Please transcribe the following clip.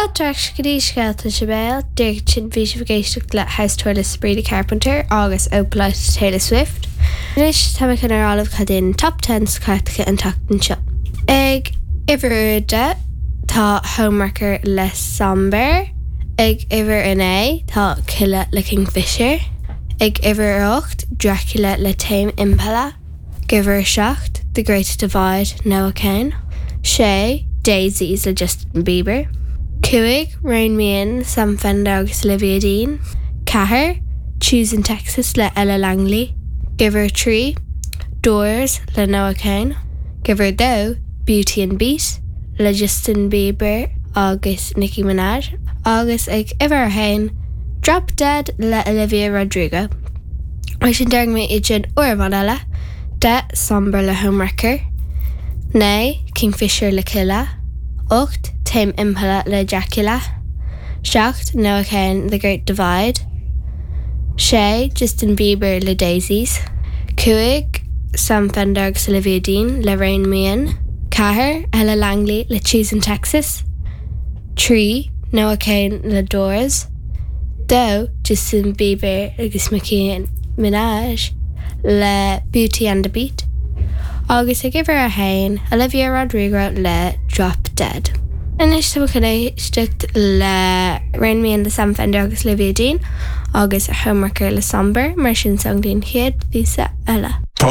Fáilte ar ais go dtí Scéalta sa Bhéal, díreach ansin bhí sibh ag éisteacht le House Tour le Sabrina Carpenter agus Opalite Taylor Swift. Anois tá mé chun a rá libh cad é an Top Ten sna cairteacha an tseachtain seo. Ag uimhir a 10 tá Homewrecker le Somber. Ag uimhir a 9 tá Killa le Kingfisher. Ag uimhir a 8 Dracula le Tame Impala. Ag uimhir a 7, The Great Divide, Noah Kahan. 6, Daisies le Justin Bieber. 5, Rein Me In, Sam Fender agus Olivia Dean. 4, Choosing Texas le Ella Langley. Ag uimhir 3, Doors le Noah Kahan. Ag uimhir 2, Beauty and Beat le Justin Bieber agus Nicki Minaj. Agus ag uimhir 1, Drop Dead le Olivia Rodrigo. Mar sin déarfaidh mé iad sin uair amháin eile, 10, Somber le Homewrecker, 9, Kingfisher le Killa, 8, Tame Impala le Dracula, 7, Noah Kahan, The Great Divide, 6, Justin Bieber le Daisies, 5, Sam Fender agus Olivia Dean le Rein Me In, 4, Ella Langley le Choosing Texas, 3, Noah Kahan le Doors, 2, Justin Bieber agus Nicki Minaj le Beauty and the Beat, agus ag uimhir 1, Olivia Rodrigo le Drop Dead. Anois tá mé chun éisteacht le Rein Me In le Sam Fender agus Olivia Dean agus Homewrecker le Somber, mar sin slán go dtí an chéad phíosa eile.